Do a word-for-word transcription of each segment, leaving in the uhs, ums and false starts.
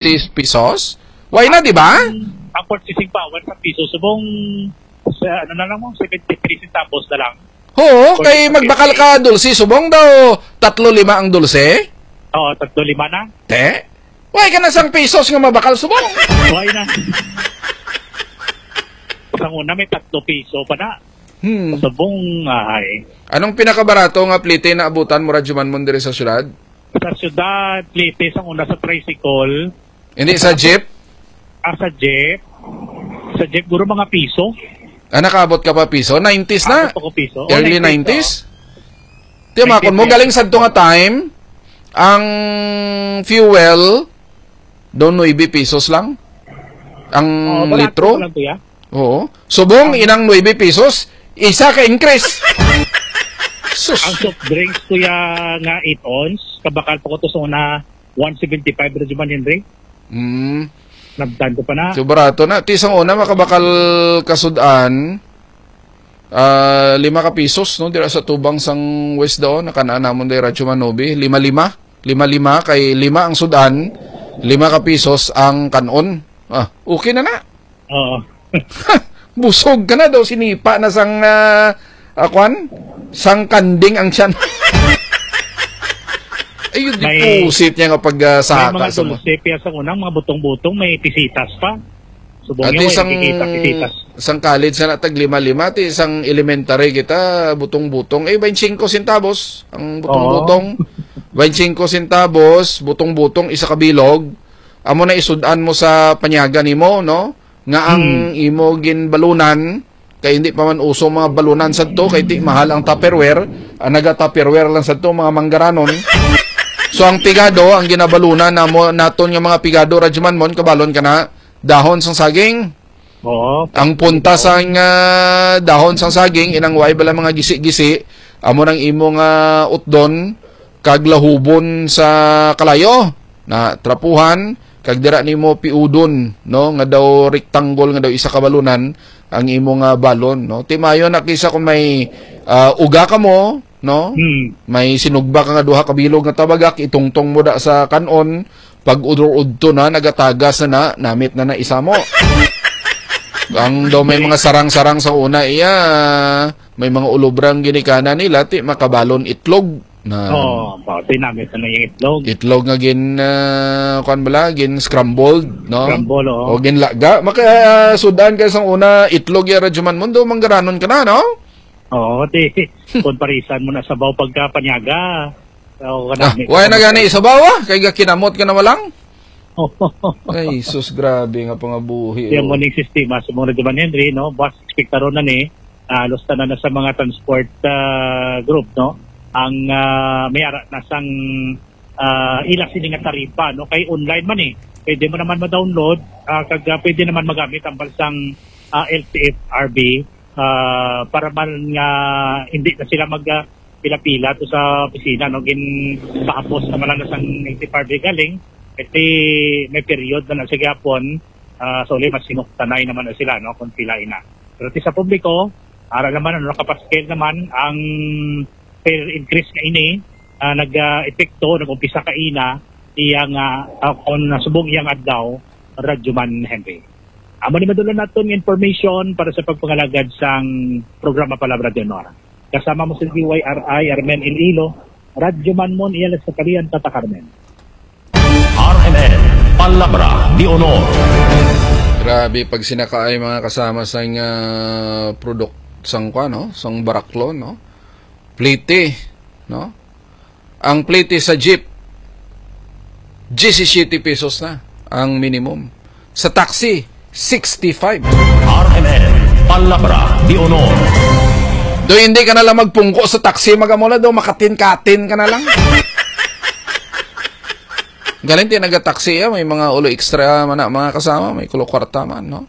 Tis pesos? Why na, di ba? Ang, ang purchasing power sa piso, subong, sa, ano na lang mo, seventy-three centavos na lang. Oo, kay magbakal ka dulce, subong daw tatlo lima ang dulce? Oo, tatlo lima na. Te? Why ka na sang pesos nga mabakal, subong? Why na? Sang una may tatlo piso pa na. Hmm. Subong, ay. Anong pinakabarato nga plite na abutan mo, Radyo Man Mon, diri sa syudad? Sa syudad, plite sang una sa tricycle. Hindi, sa jeep? Ah, sa jeep. Sa jeep, guro mga piso. Ah, nakaabot ka pa piso? Nineties na? Abot ako piso. Oh, Early nineties, nineties? Tiyamakon mo, nineties, galing sadto nga time, ang fuel, doon nuebe pesos lang. Ang Oh, barato litro? lang to, ya. Oo. Subong, inang nuebe pesos, isa ka increase. Sus. Ang soft drinks, kuya, nga eight ounce, kabakal pa ko to sa una, one seventy-five, Radyo Man Henry. Mm. Nabtan ko pa na. So, barato na. Ti sang una, makabakal kasudan, ah, lima ka pisos, no? Dira sa tubang sang West daw, nakanaan namon day Radyo Manobi. Lima-lima. Lima-lima, kay lima ang sudan, lima ka pisos ang kanon. Ah, okay na na. Oo. Busog ka na daw, sinipa na sang, ah, ah, kwan? Sang kanding ang tiyan. Ayun, May, deposit niya nga pag, ah, may saka mga sa mga dulce, piya sa unang mga butong-butong, may pisitas pa. Subong At niya, isang, may nakikita, pisitas. Isang college na tag lima-lima, ti isang elementary kita, butong-butong. Eh, twenty-five centavos ang Oo. butong-butong. Twenty-five centavos, butong-butong, isa ka bilog. Amo na isudan mo sa panyaga nimo, no? Nga ang Hmm. imo ginbalunan, kay hindi pa man uso mga balunan sadto, kay ti mahal ang Tupperware, ang naga-Tupperware lang sadto, mga manggaranon. So, ang pigado, ang ginabalunan namo, naton nga mga pigado, Radyo Man Mon, kabalon ka na, dahon sang saging. Oo. Ang punta sang, ah, dahon sang saging, inang way bala mga gisi-gisi, amo nang imo nga utdon, kag lahubon sa kalayo, na trapuhan, kag dira nimo piudon, no, nga daw rectangle, nga daw isa ka balunan ang imo nga balon, no? Ti maayo na kisa kung may, ah, uga ka mo, no? Hmm. May sinugba ka nga duha ka bilog nga tabagak, itungtong mo da sa kanon, pag udto-udto na, nagatagas na na, namit na na isa mo. Ang daw may mga sarang-sarang sa una, iya, may mga ulobrang ginikanan nila, ti makabalon itlog. Na Oo, ba, tinamit na yung itlog. Itlog nga gin, ah, kuwan bala, gin scrambled, no? Scramble, oo. O gin laga. Maka, ah, sudan ka sang una, itlog ya, Radyo Man Mon, do manggaranon ka na, no? Oo, ti, kung parisan mo na sabaw pagka panyaga. Oo, Ah, kanami. wala na gani sabaw, ah. Kay gakinamot ka na walang. Ay, sus, grabe nga pangabuhi, Yan oh. mo ning sistema sa mga Radyo Man Henry, no? Boss, ekspektaron na ni, ah, halos tanan na sa mga transport, ah, group, no? Ang, ah, may ara na sang, ah, ila sini nga taripa, no? Kay online man eh. Pwede mo naman ma-download, ah, kag, ah, pwede naman magamit ang balsang, ah, L T F R B, ah, para man nga hindi na sila mag, ah, pila-pila to sa opisina, no? Ginpahapos naman lang na sang L T F R B galing, kasi may period na na sa gihapon, ah, so, mas sinuktanay naman na sila, no? Kung pila ina. Pero ti sa publiko, ara naman, ano, nakapaskil naman ang fare increase nga ini, ah, nag, ah, epekto, nag-umpisa kaina, iya nga, ah, kung nasubong iyang adlaw, Radyo Man Henry. Amo ni madula naton nga information para sa pagpangalagad sang programa Palabra de Honor. Kasama mo si D Y R I, Armen Iloilo, Radyo Man Mon, iya sa Kalian, Tata Carmen. R M N, Palabra de Honor. Grabe pagsinakaay, mga kasama, sang, ah, product sang kwa, no? Sang baraklo, no? Plete, no? Ang plete sa jeep, diyesisiyete pesos na ang minimum. Sa taxi, sixty-five. R M N, Palabra de Honor. Do, hindi ka na lang magpungko sa taxi, magamula do, makatin-katin ka na lang. Galing ti naga-taxi, ah, may mga ulo extra man na, mga kasama, may kulo kwarta man, no?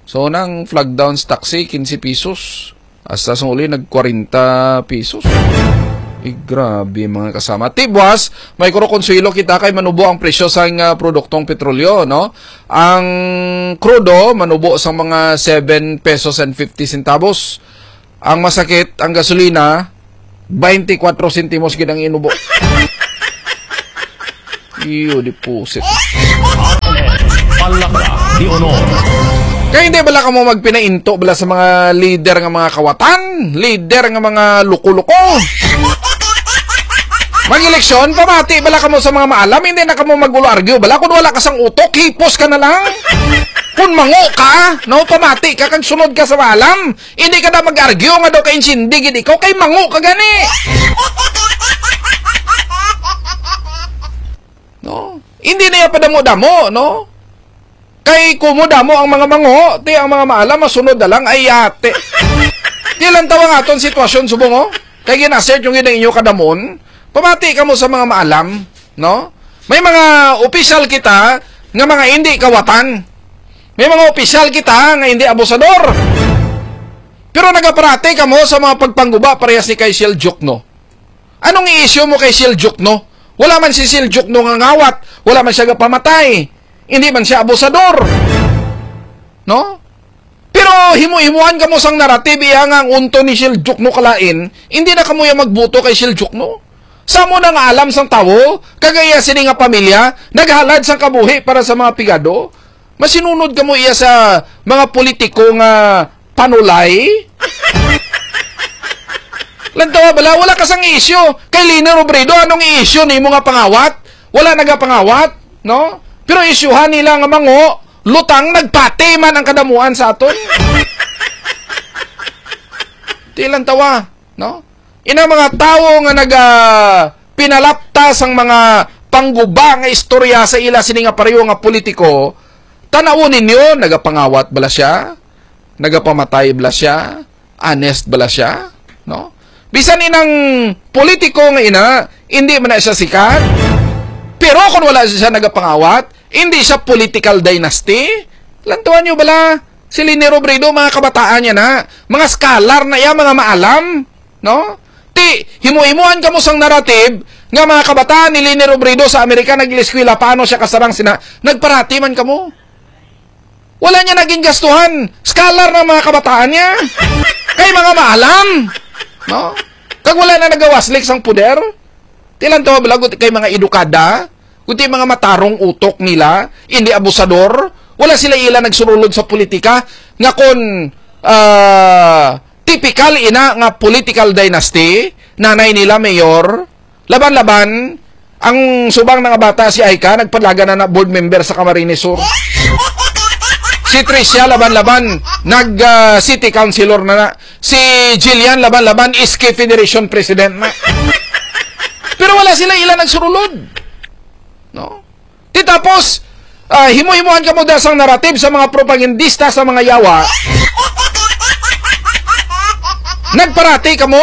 So, nang flag down sa taxi, quince pesos. Hasta sa uli, nag kwarenta pesos. Eh, grabe, mga kasama. Ti buwas, may kuro konsuelo kita kay manubo ang presyo sa nga produktong petrolyo, no? Ang krudo, manubo sa mga seven pesos and fifty centavos. Ang masakit, ang gasolina, twenty-four sentimos gid ang inubo. Iyo, deposit. Di honor. Kay hindi bala kamo magpinainto bala sa mga leader nga mga kawatan, leader nga mga luko-luko? Mag-eleksyon, pamati bala kamo sa mga maalam, hindi na kamo mag-ulo-argue bala. Kung wala ka sang utok, hipos ka na lang. Kung mango ka, no, pamati ka kag sunod ka sa maalam. Hindi ka na mag-argue nga daw ka insindi gid ikaw, kay mango ka gani. No? Hindi na iya padamo-damo, no? Kay kumo damo ang mga mango, ti ang mga maalam, masunod na lang, ay yate. Di lang tawa nga aton sitwasyon, subong, oh. Kay ginasearch yung gina inyo kadamon, pamati kamo sa mga maalam, no? May mga opisyal kita nga mga hindi kawatan. May mga opisyal kita nga hindi abusador. Pero nagaparati kamo sa mga pagpangguba parehas ni kay Shell Jokno. Anong i-issue mo kay Shell Jokno? Wala man si Shell Jokno nga ngawat, wala man siya gapamatay, hindi man siya abusador. No? Pero himo-himuan kamo sang narrative iya nga ang unto ni Shell Jokno kalain, hindi na kamo ya magbuto kay Shell Jokno. Sa mo na nga alam sang tawo, kag iya sini nga pamilya, naghalad sang kabuhi para sa mga pigado, masinunod kamo iya sa mga politiko nga panulay? Lantawa bala, wala ka sang issue. Kay Leni Robredo, anong issue nimo nga pangawat? Wala nagapangawat, no? Pero isyuhan nila nga mango, lutang, nagpati man ang kadamuan sa aton. Di lantawa, no? Ina mga tawo nga naga pinalapta sang mga pangguba nga istorya sa ila sini nga pareho nga politiko, tan-awon ninyo, nagapangawat bala siya? Nagapamatay bala siya? Honest bala siya? No? Bisan inang politiko nga ina, hindi man na siya sikat. Pero kung wala siya nagapangawat, hindi siya political dynasty. Lantuan nyo bala, si Leni Robredo, mga kabataan niya na, mga scholar na iya, mga maalam, no? Ti, himo-himoan kamo sang narrative nga mga kabataan ni Leni Robredo sa Amerika nag-eskwela, paano siya kasarang sina, nagparati man kamo. Wala niya naging gastuhan. Scholar ng mga kabataan niya. Kay mga maalam. No? Kag wala na nagawaslik sang poder. Tilan to, bala, kay mga edukada, kundi mga matarong utok nila, hindi abusador, wala sila ila nagsurulod sa politika, nga kon, ah, typical ina nga political dynasty, nanay nila mayor, laban-laban, ang subang nga bata si Aika, nagpadalagan na na board member sa Camarines Sur. Si Tricia, laban-laban, nag, ah, city councilor na na. Si Jillian, laban-laban, S K Federation President na. Pero wala sila ila nagsurulod. No? Di tapos, ah, himo-himoan kamo da sang narrative sa mga propagandista sa mga yawa. Nagparati kamo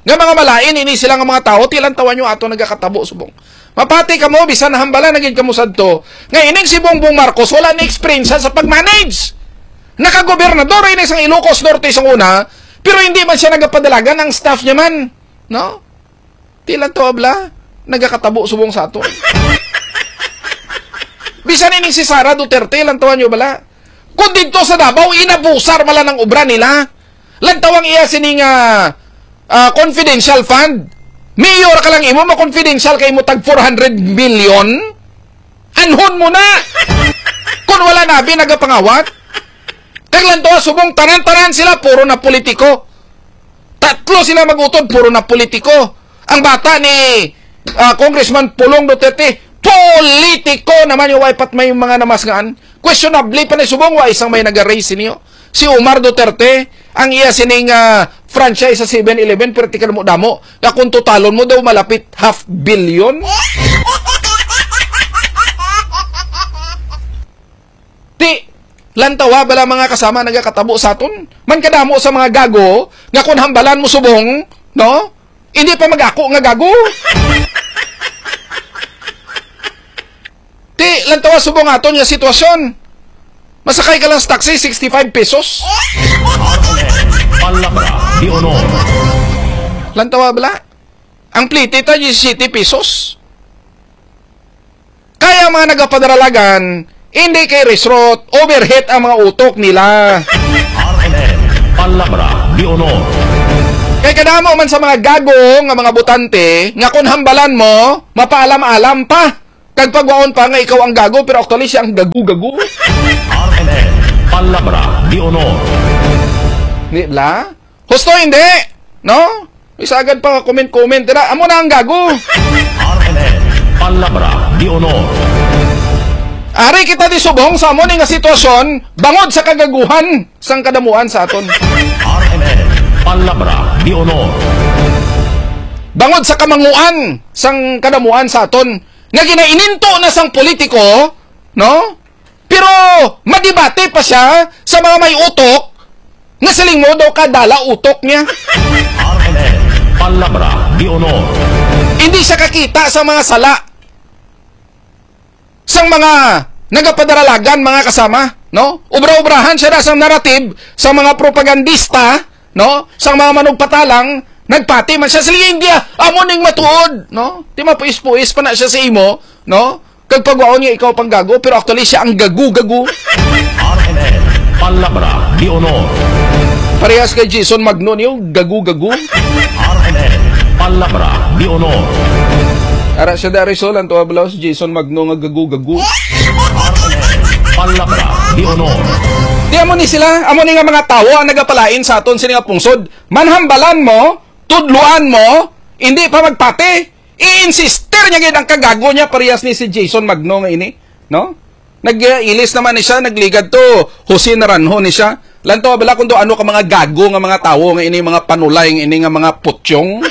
nga mga malain ini sila nga mga tawo, tilan tawa nyo ato nagakatabo subong. Mapati kamo, bisan hambala na gid kamo sadto, nga ining si Bongbong Marcos wala ni eksperyensya sa pag-manage. Nakagobernador ini sang Ilocos Norte sang una, pero hindi man siya nagapadalagan ang staff niya man, no? Ti lang to, abla, nagakatabo subong sa ato. Bisan ining si Sara Duterte, lang tawa nyo bala. Kung dito sa Davao, inabusar mala ng obra nila. Lang tawang iya sini nga, ah, confidential fund. Mayor ka lang imo, ma-confidential kay mo tag four hundred million. Anhon mo na. Kung wala na, abi nagapangawat. Kag lang tawa, subong tanan-tanan sila, puro na politiko. Tatlo sila mag-utod, puro na politiko. Ang bata ni, ah, Congressman Pulong Duterte, politiko naman yung wife at may mga namasngaan. Questionable pa ni subong wa isang may nag-raise ninyo. Si Omar Duterte, ang iya sining, ah, franchise sa Seven Eleven, perti ka mo damo. Nga kung totalon mo daw malapit half billion. Ti, lantawa bala mga kasama nagakatabo sa aton. Man kadamo sa mga gago nga kun hambalan mo subong, no? Hindi pa mag-ako nga gago. Ti, lantawa subong aton nga sitwasyon. Masakay ka lang sa taxi, sixty-five pesos. Palabra de honor. Lantawa bala. Ang plete ta, diyesisiyete pesos. Kaya ang mga nagapadaralagan, hindi kay resrot, overheat ang mga utok nila. R N N, Palabra de Honor. Kay kadamo man sa mga gago nga mga botante, nga kun hambalan mo, mapaalam-alam pa. Kag pagwaon pa nga ikaw ang gago, pero actually siya ang gago-gago. R Palabra de Honor. Di bala? Husto, hindi? No? Isagad pa nga comment-comment. Tira, amo na ang gago. R M N, Palabra de Honor. Ari kita di subong sa amo ni nga sitwasyon, bangod sa kagaguhan sang kadamuan sa aton. R M N, Palabra de Honor. Bangod sa kamanguan sang kadamuan sa aton, nga ginaininto na sang politiko, no? Pero madibate pa siya sa mga may utok, nga siling mo daw kadala utok niya. R M N, Palabra de Honor. Hindi siya kakita sa mga sala sang mga nagapadaralagan, mga kasama, no? Ubra-ubrahan siya na sa narrative sa mga propagandista, no? Sa mga manugpatalang, nagpati man siya sa India, amo ning matuod, no? Ti mapuis-puis pa na siya sa imo, no? Kag pagwaon nga ikaw pang gago, pero actually siya ang gagu-gagu. R M N, Palabra de Honor. Parehas kay Jason Magno niyo, gagu-gagu. R M N, Palabra de Honor. Ara siya dari, so, lang to, ablaw si Jason Magno nga gagu-gagu. R M N, Palabra de Honor. Di amo ni sila, amo ni nga mga tawo ang nagapalain sa aton sini nga pungsod. Manhambalan mo, tudluan mo, hindi pa magpati. I-insister niya gid ang kagago niya, parehas ni si Jason Magno nga ini, no? Nag-ilis naman ni siya, nagligad to, Jose Naranjo ni siya. Lantaw bala kung do ano ka mga gago nga mga tawo nga ini, mga panulay nga ini, nga mga putyong.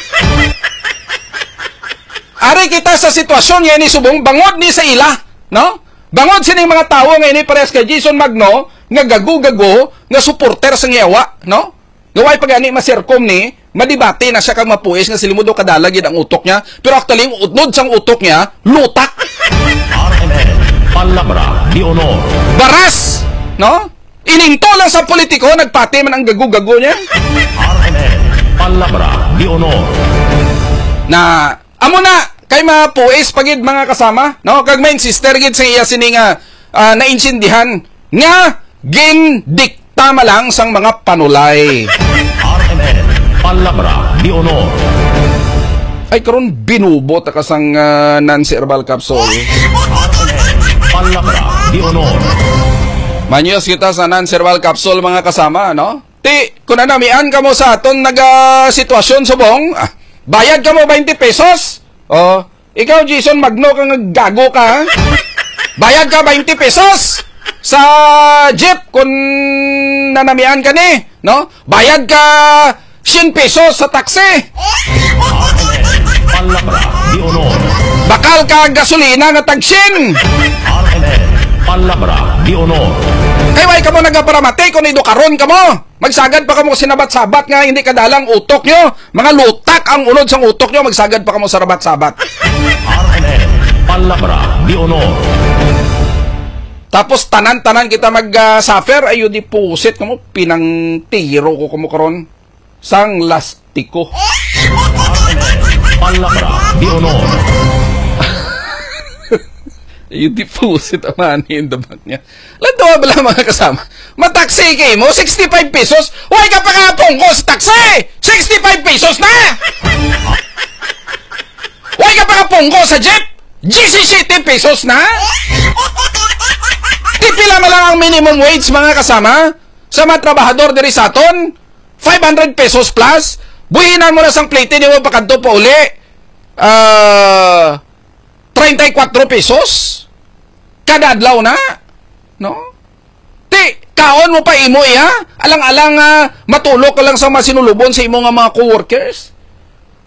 Ari kita sa sitwasyon nga ini subong, bangod ni sa ila, no? Bangod sining mga tawo nga ini, parehas kay Jason Magno, nga gago-gago, nga supporter sang yawa, no? Nga way pa gani masirkom ni, madibati na siya kag mapuis nga siling mo daw kadala gid ang utok niya, pero actually ang utnod sang utok niya, lutak. R M N, Palabra de Honor. Baras, no? Ininto lang sa politiko, nagpati man ang gago-gago niya. R M N, Palabra de Honor. Na, amo na, kay mapuis pa gid, mga kasama, no? Kag ma-insister gid sa iya sini nga, ah, naintindihan nga gindikta man lang sang mga panulay. R M N, Palabra de Honor. Ay, karon binubo ta ka sang, ah, non-serval capsule. R M N, Palabra de Honor. Manyos kita sa non-serval capsule, mga kasama, no? Ti, kung nanamian kamo sa aton naga sitwasyon subong, ah, bayad kamo twenty pesos. Oh, ikaw, Jason Magno, ka nga gago ka, ha? Bayad ka twenty pesos sa jeep kung nanamian ka ni, no? Bayad ka siyam pesos sa taxi. Palabra de Honor. Bakal ka gasolina nga tag siyam. R M N, Palabra de Honor. Kay way kamo nagaparamati kung idukaron kamo. Magsagad pa kamo sa sinabat-sabat nga hindi kadala ang utok nyo. Mga lutak ang unod sang utok nyo, magsagad pa kamo sa rabat-sabat. R M N, Palabra de Honor. Tapos tanan-tanan kita mag, ah, suffer, ayo di pusit kamo, pinangtiro ko kamo karon sang lastiko. R M N, Palabra de Honor. Ayo di pusit ang money in the bank niya. Lantawa bala, mga kasama. Mataksi kay mo, sixty-five pesos. Way ka pa kapungko sa taxi! Sixty-five pesos na! Way ka pa kapungko sa jeep! Diyesisete pesos na! Ti pila man lang ang minimum wage, mga kasama, sa mga trabahador diri sa aton? Five hundred pesos plus? Buhinan mo na sang plete, di mo pakadto pa uli. Ah, treinta y cuatro pesos? Kada adlaw na? No? Ti, kaon mo pa imo iya? Alang-alang nga matulok ka lang sa masinulubon sa imo nga mga coworkers.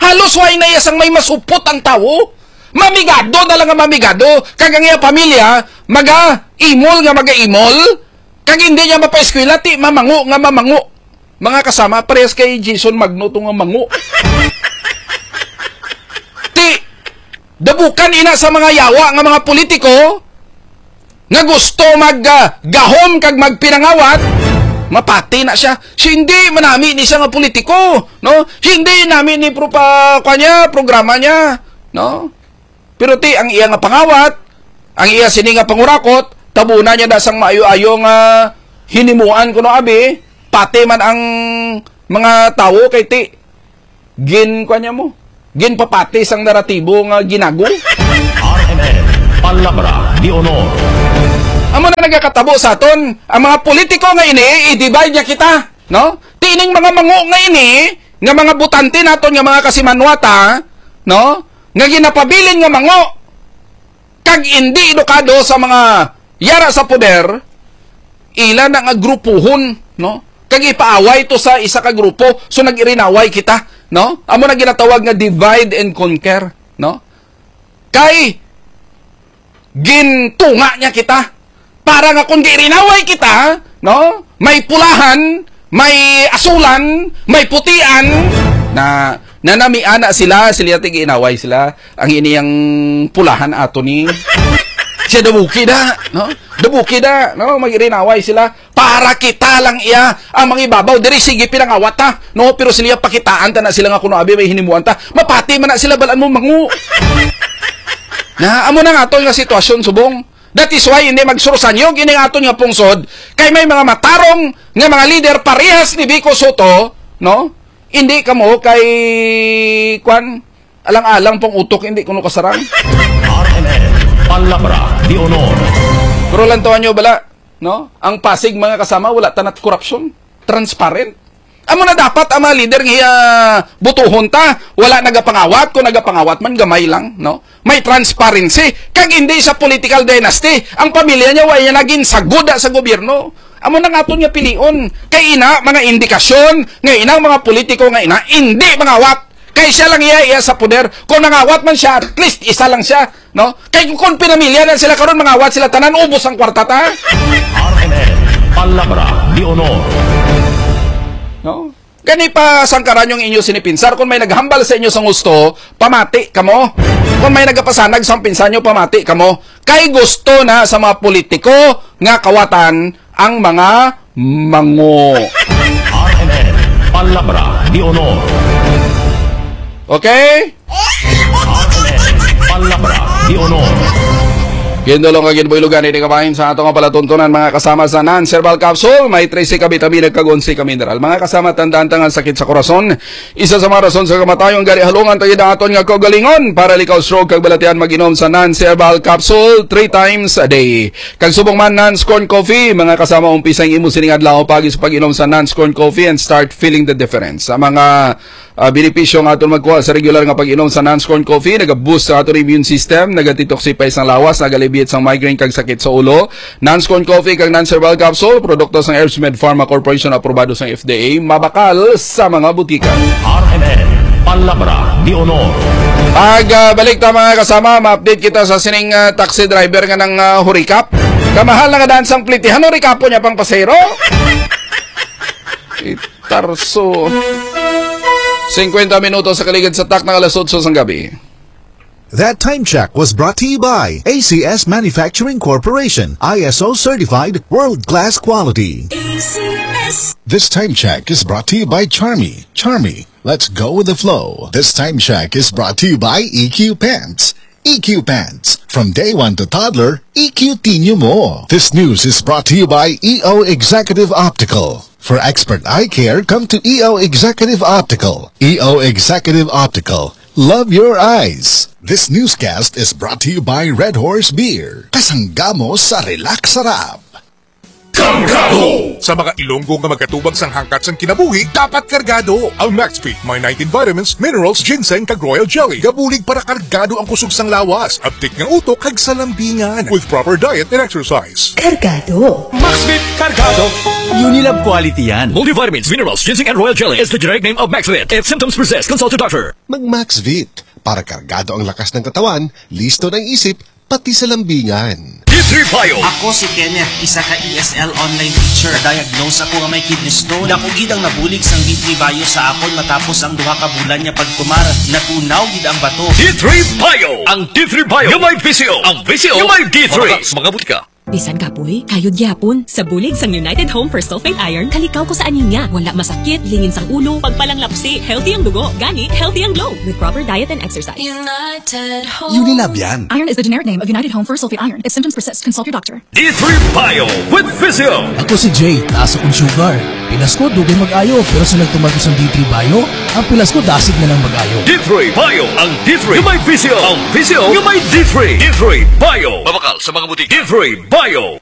Halos way na iya sang may masupot ang tawo. Mamigado na lang nga mamigado. Kag ang iya pamilya, maga-imol nga maga-imol. Kag hindi niya mapaeskwela, ti mamango nga mamango. Mga kasama, parehas kay Jason Magno to nga mango. Ti, dabukan ina sa mga yawa nga mga politiko nga gusto mag, ah, gahom kag magpinangawat, mapati na siya. Si hindi manami ni siya nga politiko, no? Hindi nami ni pro-, pa, kwa niya, programa niya, no? Pero ti, ang iya nga pangawat, ang iya sini nga pangurakot, tabunan niya na sang maayo-ayo nga hinimuan kuno abi, pati man ang mga tawo kay ti, gin-, kwa niya mo, ginpapati sang naratibo nga ginago. R M N, Palabra de Honor. Amo na nagakatabo sa aton, ang mga politiko nga ini, i-divide niya kita, no? Tining mga mango nga ini, nga mga butante naton nga mga kasimanwata, no? Nga ginapabilin nga mango, kag indi edukado sa mga yara sa poder, ila na nga grupuhon, no? Kag ipaaway to sa isa ka grupo, so nag-irinaway kita, no? Amo na ginatawag nga divide and conquer, no? Kay gintunga niya kita para nga kung giirinaway kita, no? May pulahan, may asulan, may putian, na nanamiana sila, sila ti giinaway sila. Ang ini ang pulahan ato ni siya dabuki da, no? Dabuki da, no? Magirinaway sila para kita lang iya ang mangibabaw diri, sige pinangawat ta, no? Pero sila pakitaan ta na sila nga kuno abi may hinimuan ta. Mapati man na sila, balaan mo mangu. Na amo na nga ato nga sitwasyon subong. That is why hindi magsursanyog ini nga aton nga pungsod kay may mga matarong nga mga leader parehas ni Vico Sotto, no? Hindi kamo kay kwan alang-alang pang utok, hindi kuno kasarang. R M N, Palabra de Honor. Pero lantawan nyo bala, no? Ang Pasig, mga kasama, wala tanat korupsyon. Transparent. Amo na dapat ang mga leader nga, ah, butuhon ta. Wala nagapangawat. Kung nagapangawat man, gamay lang, no? May transparency. Kag hindi sa political dynasty. Ang pamilya niya, wa niya naging saguda sa gobyerno. Amo na nga aton nga pilion. Kay ina, mga indikasyon, nga inang mga politiko nga ina, hindi mangawat. Kay siya lang iya, iya sa poder. Kung nangawat man siya, at least isa lang siya, no? Kay kung pinamilya na sila karon, mangawat sila tanan, ubos ang kwarta ta. R M N, Palabra de Honor. No? Gani pa sangkaran yung inyo sinipinsar. Kung may naghambal sa inyo sa gusto, pamati kamo. Kung may nagapasanag sa pinsan nyo, pamati kamo. Kay gusto na sa mga politiko nga kawatan ang mga mango. R M N, Palabra de Honor. Okay? R M N, Palabra de Honor. Gindulong kag ginbuilugan ini kabahin sa ato nga palatuntunan, mga kasama, sa non-herbal capsule. May trese ka bitamina kag onse ka mineral. Mga kasama, tandaan ta nga ang sakit sa korason, isa sa mga rason sa kamatayon, gani halungan ta gid ang aton nga kaugalingon. Para likaw stroke kag balatian, mag-inom sa non-herbal capsule three times a day. Kag subong man, Nans Corn Coffee, mga kasama, umpisa ang imo sining adlaw paagi sa pag-inom sa Nans Corn Coffee and start feeling the difference. Sa mga, ah, benepisyo nga aton magkuha sa regular nga pag-inom sa Nans Corn Coffee, naga-boost sa aton immune system, naga-detoxify sang lawas, naga-alleviate sang migraine kag sakit sa ulo. Nans Corn Coffee kag Nans Herbal Capsule, produkto sang Herbs Med Pharma Corporation, aprobado sang F D A, mabakal sa mga butika. R M N, Palabra de Honor. Pag, ah, balik ta, mga kasama, ma-update kita sa sining, ah, taxi driver nga nang, ah, hurikap. Kamahal na nga daan sang plitihan, hurikapo niya pang pasahero. Itarso. Singkwenta minutos sa kaligid sa tak ng alas otso sang gabi. That time check was brought to you by A C S Manufacturing Corporation, I S O certified, world-class quality. A C S. This time check is brought to you by Charmy. Charmy, let's go with the flow. This time check is brought to you by E Q Pants. E Q Pants. From day one to toddler, E Q tinyo mo. This news is brought to you by E O Executive Optical. For expert eye care, come to E O Executive Optical. E O Executive Optical. Love your eyes. This newscast is brought to you by Red Horse Beer. Kasangga mo sa Relax Sarap. Kargado! Sa mga Ilonggo nga magkatubag sang hangkat sang kinabuhi, dapat kargado. Ang Maxfit may nineteen vitamins, minerals, ginseng, kag royal jelly. Gabulig para kargado ang kusog sang lawas, abtik nga utok, kag sa lambingan. With proper diet and exercise. Kargado. Maxfit Kargado. Unilab quality yan. Multivitamins, minerals, ginseng, and royal jelly is the generic name of Maxfit. If symptoms persist, consult your doctor. Mag Maxfit para kargado ang lakas ng katawan, listo ng isip, pati sa lambingan. D three Bio. Ako si Kenneth, isa ka E S L online teacher. Na-diagnose ako nga may kidney stone. Dako gid ang nabulig sang D three Bio sa akon matapos ang duha ka bulan nga pagtumar. Natunaw gid ang bato. D three Bio. Ang D three Bio nga may visyo. Ang visyo nga may D three. Mabakal sa mga butika. Bisan kapoy, kayod gyapon. Sa bulig sang United Home for Sulfate Iron, kalikaw ko sa anemia. Wala masakit, lingin sang ulo, pagpalanglapsi, healthy ang dugo, gani, healthy ang glow. With proper diet and exercise. United Home. Unilab yan. Iron is the generic name of United Home for Sulfate Iron. If symptoms persist, consult your doctor. D three Bio with Visio. Ako si Jay, taas akong sugar. Pilas ko, dugay mag-ayo, pero sa nagtumar ko sa D three Bio, ang pilas ko dasig na lang mag-ayo. D three Bio, ang D three nga may Visio, ang Visio nga may D three. D three Bio. Mabakal sa mga butika. D three Bio.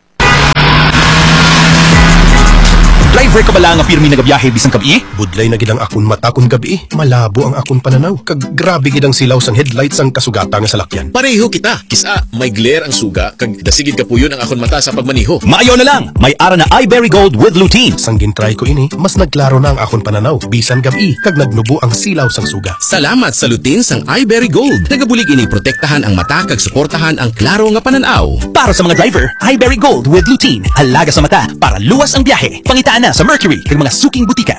Driver ka bala nga pirmi nagabiyahe bisan gab-i? Budlay na gid ang akon mata kon gab-i. Malabo ang akon pananaw, kag grabe gid ang silaw sang headlight sang kasugata nga salakyan. Pareho kita. Kis-a may glare ang suga, kag dasigid kapuyon ang akon mata sa pagmaneho. Maayo na lang, may ara na iBerry Gold with Lutein. Sang gintry ko ini, mas nagklaro na ang akon pananaw bisan gab-i, kag nagnubo ang silaw sang suga. Salamat sa Lutein sang iBerry Gold. Nagabulig ini protektahan ang mata kag suportahan ang klaro nga panan-aw. Para sa mga driver, iBerry Gold with Lutein. Alaga sa mata para luwas ang biyahe. Pangitaan na sa Mercury kag mga suking butika.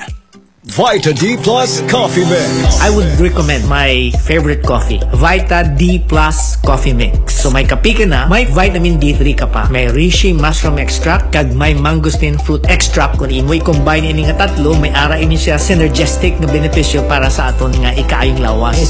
Vita D Plus Coffee Mix. I would recommend my favorite coffee, Vita D Plus Coffee Mix. So may kape ka na, may vitamin D three ka pa, may reishi mushroom extract, kag may mangosteen fruit extract. Kung imo i-combine ini nga tatlo, may ara ini siya synergistic nga benepisyo para sa aton nga ikaayong lawas.